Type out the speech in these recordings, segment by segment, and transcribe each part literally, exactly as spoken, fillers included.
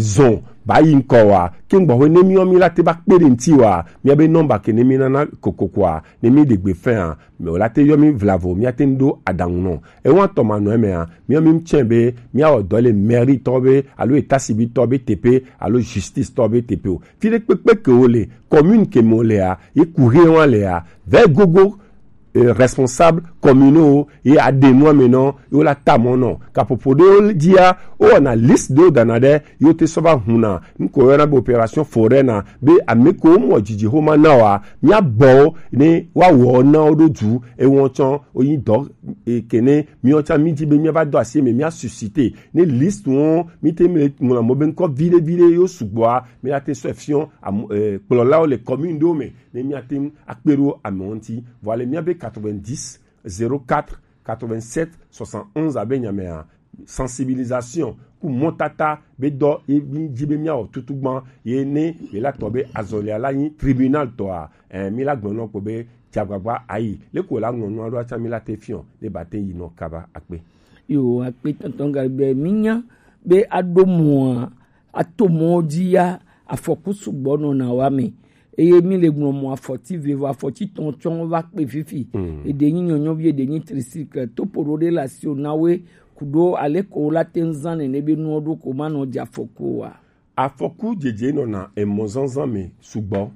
zɔn ba yi ŋkɔ wa, ke ŋgbɔ hwe ne mi yɔ mi la te ba kpe ɖe ŋti wa, mi be nɔmba ke ne mi nana kokoko a, ne mi ɖe gbe fɛn a, mi o la te yɔ mi vlavo, mi ate ŋ ɖo aɖaŋu nɔ. Ewa tɔ ma nɔ eme a, mi yɔ mi tsɛ be mi awɔ dɔ le mairie tɔ be alo état civil tɔ be teƒe alo justice tɔ be teƒe o. Fi ɖe kpekpe ke wo le, commune ke mo le a, ye ku he wa le a, vɛ gogo eh, responsable communaux ye aɖe nua me nɔ ye wo la ta mɔ nɔ. Kaƒoƒo ɖewo dzia, wowɔna liste ɖewo dana ɖe ye wote sɔ va huna nu ko yɔna be opération foraine na, be ame ko womɔ dzidzi xoma na wa, míabɔ wo ne woawɔ na wo ɖo du ewɔ tsɔ wonyi dɔ eh, kene míawo tsã mídi be míava do asi eme, míasusite ne liste wo míte mi le ŋlɔ mo be ŋkɔ viɖe viɖe yo sugbɔa, míate sɔ fiɔ am- eh, kplɔlawo le commune ɖewo me ne míate ŋu akpe ɖo amewo ŋuti. Vɔ ale míabe quatre-vingt-dix zéro quatre quatre-vingt-sept soixante-onze abe nyamea, sensibilisation ku mɔtata be dɔ ye mi dzi be míawɔ tutu gbã ye ne ye la tɔ be azɔlia la nyi tribunal tɔa, eh, mi la gblɔ nɔ kpo be dzagbagba ayi le ko la ŋlɔ nua ɖo atsa mi la te fiɔ ne ba te yi nɔ kaba akpe. Yo akpe tɔntɔn gari be mi nya be aɖo mɔa ato mɔ dzi ya afɔku sugbɔ nɔna wa me. Eye mi le ŋlɔ mɔ afɔti vevo afɔti tɔn tsɔn va kpe fifi. Eɖe nyi nyɔnyɔvi eɖe nyi tricycle topo ɖo ɖe le asi o na we kuɖo ale ko la te ŋu zã nene be nuwo ɖo ko ma nɔ dze afɔku o wa. Afɔku dzedze nɔna emɔ zazã me sugbɔ.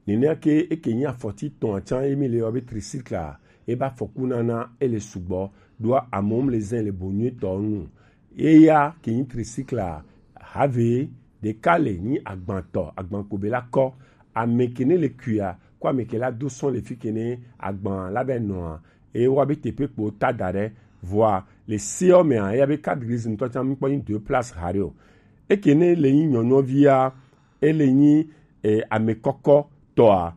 Nenea ke eke nyi afɔti tɔn atsa ye mi le yɔ be tricycle a, ebe afɔku nana ele sugbɔ ɖoa amewo le zã le bo nyuitɔ nu. Eya ke nyi tricycle a, have ɖeka le nyi agbantɔ, agban ko be la kɔ. Ame ke ne le kuia ko ame ke la do sɔn le fi ke ne agban la be nɔa, e wa be teƒe kpo ta da ɖe. Vɔa le seɔ mea, eya be carte grise ŋutɔ tsã mi kpɔ nyi deux places haɖe o. Eke ne le nyi nyɔnyɔvia, ele nyi eh, ame kɔkɔ tɔa,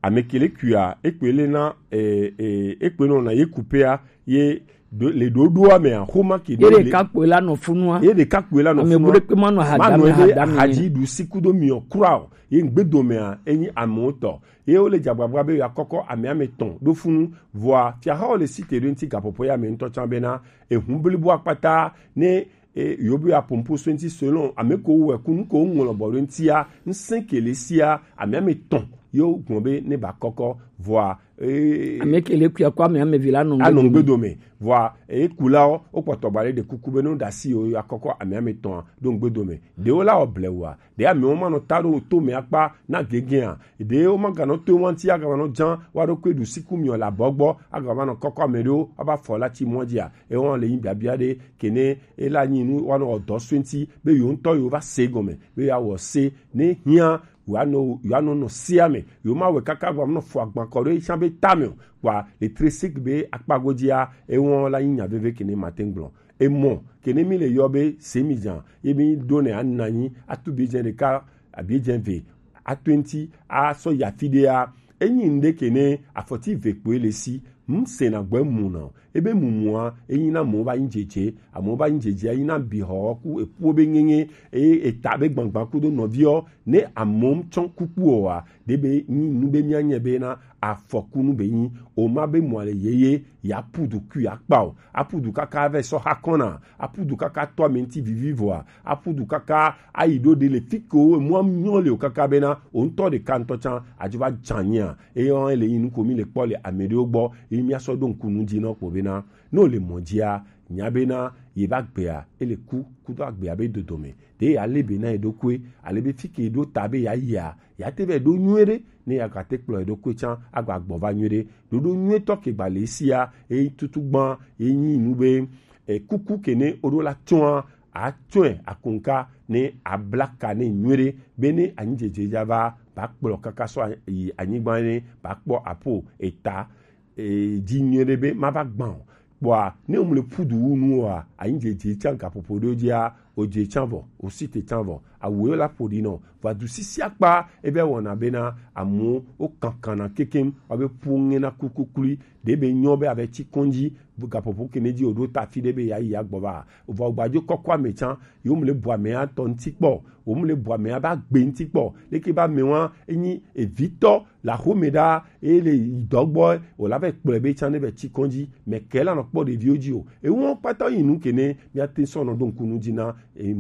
ame ke le kuia ekpe le na eh, eh, ekpe nɔ na ye kupea ye do- le ɖoɖoa mea xoma ke ye ɖeka kpoe la nɔ funua ye ɖeka kpoe la nɔ ame funua bu ɖekpe ma nɔ ma hadame nɔ ebe hadame hadzi ɖu si kudo miɔ kura o ye ŋgbedomea enyi amewo tɔ ye wo le dzagbagba be yeakɔkɔ ame ame tɔn ɖo funu. Vɔa fiahawo le site ɖo ŋti gaƒoƒo ya me ŋutɔ tsã bena ehu blibo akpata ne e yo be apompo so ŋti selon ame ko wɔ ku nu ko ŋlɔ bɔ ɖo ŋtia ŋsẽ ke le sia ame ame tɔn yo gbɔn be ne ba kɔkɔ vɔa e ame ke le kuya ko ame ame vi la nɔ anɔ ŋgbe dome vɔa e kulawo wo kpɔtɔ ba le ɖe kuku be ne wo ɖasi yo akɔkɔ ame ame tɔn ɖo ŋgbe dome ɖewo la wɔ blewa ɖe amewo ma nɔ ta ɖo to me akpa na gegea ɖe wo ma ganɔ to wanti aga nɔ jan wa ɖo kpe ɖu siku miɔ la bɔgbɔ aga ma nɔ kɔkɔ ame ɖewo aba fɔ la ti mɔ dia ewɔn le yin biabia ɖe kene ela nyi nu wa nɔ dɔ so ŋti be yo ŋutɔ yo va se gɔme be ya wɔ se ne hiã yo anɔ yo anɔ nɔ sia me yo ma wɛ kaka gba nɔ fɔ agban kɔ ɖo etsã be tame o kpa le tresik be akpa godia ewɔn la nyi nya veve kene mate gblɔ emɔ kene mi le yɔ be se mi jan ye mi ɖo ne ananyi atu bi jɛ ɖeka abi jɛ ve atu ŋti asɔ ya fi ɖea enyi ŋɖe kene afɔti ve kpoe le si ŋsena gbɔ emu na o ebe mumua enyi na amewo ba nyi dzedze amewo ba nyi dzedze enyi na bihɔ ku eƒuwo be ŋeŋe eye eta be gbagba kudo nɔviɔ ne amewo tsɔ kuku oa ɖe be nyi nu be mia nye be na afɔkunu be nyi o ma be mɔ le yeye ya pu du kui akpa o apu du kaka vɛ sɔ ha kɔna apu du kaka tɔ ame ŋti vivi vɔa apu du kaka ayi ɖo ɖe le fi ke wo emua nyɔ le o kaka bena o ŋutɔ ɖeka ŋutɔ tsã adzo va dza nyia eye wɔn ele yin nuko mi le kpɔ le ame ɖewo gbɔ eye mia sɔ ɖo ŋku nu dzi nɔ kpɔ bena ne o le mɔ dzia nya bena ye va gbea ele ku kudo agbea be dodome ɖe ya le be na ye ɖokoe ale be fi ke ɖo ta be ya yia ya te vɛ ɖo nyuie ɖe ne ya gate kplɔ ye ɖokoe tsã agba gbɔ va nyuie ɖe ɖoɖo nyuie tɔ ke gba le sia eye tutu gbã ye nyi nu be e kuku ke ne o ɖo la tsɔa atsɔe akonka ne abla ka ne nyuie ɖe be ne anyi dzedze dza va ba kplɔ kaka sɔ yi anyigba ne ba kpɔ apo eta e dzi nyuie ɖe be ma va gbã o kpɔa ne o mu le ƒu du wu nu oa anyi dzedze tsã gaƒoƒo ɖewo dzia o dze tsã vɔ o si te tsã vɔ awu yo la ƒo ɖi nɔ vɔ adu sisi akpa ebe wɔna bena amewo wo kankana kekem wa be ƒu ŋe na kukuklui ɖe be nyɔ be ave tsi kɔndzi gaƒoƒo kene dzi o ɖo ta fi ɖe be ya yi ya gbɔ va vɔ gbadzo kɔkɔ ame tsã yo mu le bu ame atɔ ŋti kpɔ o mu le bu ame aba gbe ŋti kpɔ leke ba ame wa enyi evitɔ la xome ɖa eye le yi dɔ gbɔ o la vɛ kplɔe be tsã ne vɛ tsi kɔndzi mɛ kɛ la nɔ kpɔ ɖeviwo dzi o ewo kpata yi nu kene mia te sɔ nɔ ɖo ŋku nu dzi na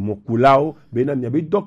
mɔkulawo bena miabe dɔk